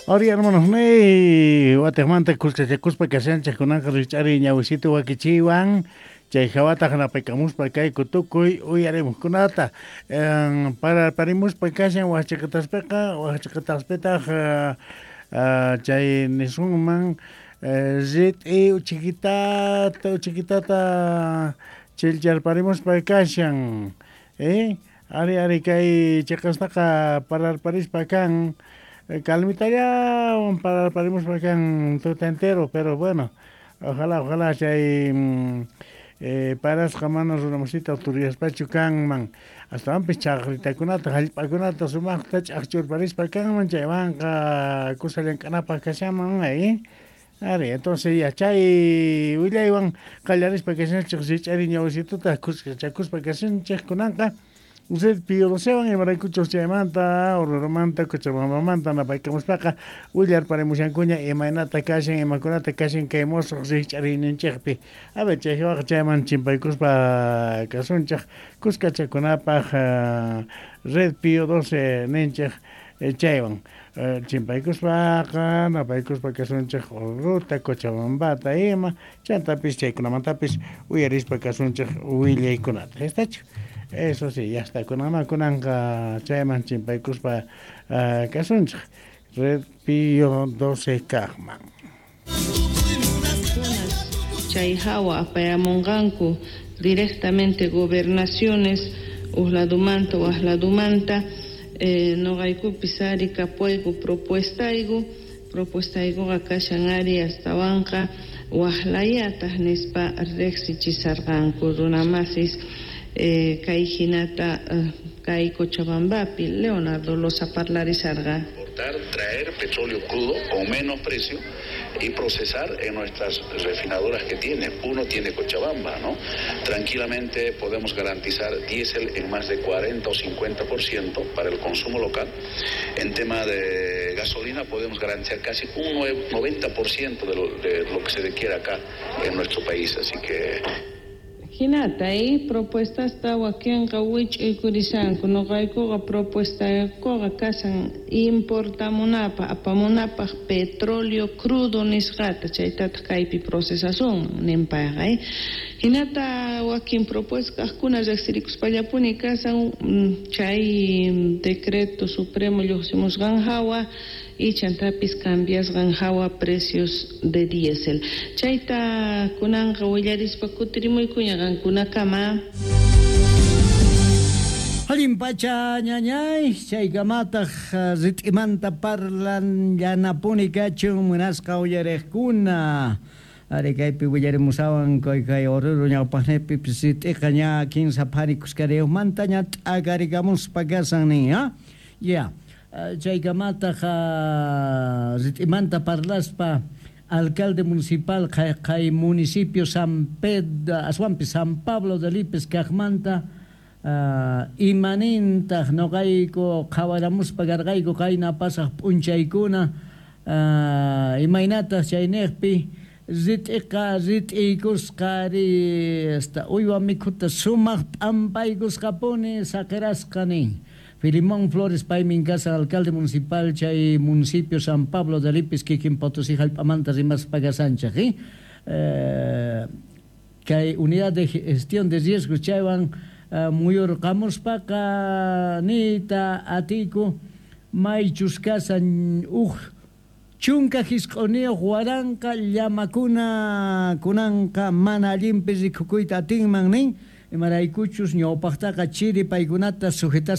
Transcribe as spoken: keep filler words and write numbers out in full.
Ari hermanos nei, watejmanta kuskachakuspa kashanchej kunanqa rich'ari ñawisitu wakichiwan chay hawataq napaykamuspa kayku tukuy uyarimuqkunata para parimuspa kashan wajchiqataspiqa wajchiqataspitaq chay nisunman rit'i uchikitata uchikitata chilcharparimuspa kashan eh ari ari kay chiqastaqa pararparispa kan calmitallawan pararparimuspa kan tuta entero, pero bueno, ojalá ojalá chay eh, parasqa mana runamasita turiyaspachu kanman astawanpis chaqritakunata hallp'akunata sumaqta ch'aqchurparispa kanman chaywanqa kusa llank'anapaq kashaman eh Ari, entonces ya chay willaywan qallarispa kashanchik rich'ari ñawisituta kuskachakuspa kashanchik kunanqa Usted Pío docewan imaraykuchus chaymanta Orurumanta Cochabambamanta napaykamuspaqa willarparimushankuña imaynata kashan imakunata kashan kay musuq rich'ariyninchikpi a ver chaywaqa chayman chimpaykuspa kasunchik kuskachakunapaq Red Pío doce ninchik chaywan chimpaykuspaqa napaykuspa kasunchik Oruruta Cochabambata ima chantapis chaykunamantapis uyarispa kasunchik willaykunata estachu. Eso sí, ya está. Kunanma kunanqa chayman chimpaykuspa uh, kasunchik Red Pío doce kaqman. Chay hawa apayamunqanku directamente gobernaciones uqladumanta waqladumanta eh, noqaykupis ari kapuayku propuestayku propuestaykuqa kashan ari astawanqa waqlayataq nispa riqsichisarqanku runamasis Eh, kay hinata uh, kay Cochabambapi Leonardo Loza parlarisarqa. Traer petróleo crudo con menos precio y procesar en nuestras refinadoras que tiene. Uno tiene Cochabamba, ¿no? Tranquilamente podemos garantizar diésel en más de cuarenta o cincuenta por ciento para el consumo local. En tema de gasolina podemos garantizar casi un noventa por ciento de lo, de lo que se requiere acá en nuestro país, así que... Hinata, eh, propuestas wakinqa wich'uykurishanku noqaykuqa propuestaykuqa kashan importamunapaq apamunapaq petróleo crudo nisqata chaytataq kaypi procesasunman ninpayqa eh. Hinata wakin propuesta kaqkuna riqsirikuspallapuni kashan chay decreto supremo lluqsimusqan hawa y chantapis cambiasqan hawa precios de diésel. Chayta kunanqa willarispa kutirimuykuña qankunakama. Allin pacha ñañay, chaykamataq rit'imanta parlan llanapuni kachun munasqa uyariqkuna. Ari kaypi willarimusawan kay kay Oruro ñawpaqnipi rit'iqa ña kinsa phari kuskariyuqmanta ña t'akarikamuspa kasan nin, ha? Ya. Chaykamataq rit'imanta parlaspa alcalde municipal kay municipio San Pedro aswanpi San Pablo de Lipes kaqmanta uh, imanintaq noqayku qhawaramuspa karqayku qayna pasaq p'unchaykuna uh, imaynataq chayniqpi rit'iqa rit'iykusqa ri esta uywa mikhuta sumaq p'ampaykusqapuni saqirasqa nin. Filimón Flores paymin kasa alcalde municipal chay municipio San Pablo de Lipis kikin Potosí hallp'amanta rimaspa kasanchik eh? Eh, kay unidad de gestión de riesgos chaywan uh, muyurqamuspaqa niyta atiku maychus kasan uj chunka hisq'uniyuq waranqa llamakuna kunanqa mana allinpi rikukuyta atinman nin imaraykuchus ñawpaqtaqa chiri paykunata sujetaspa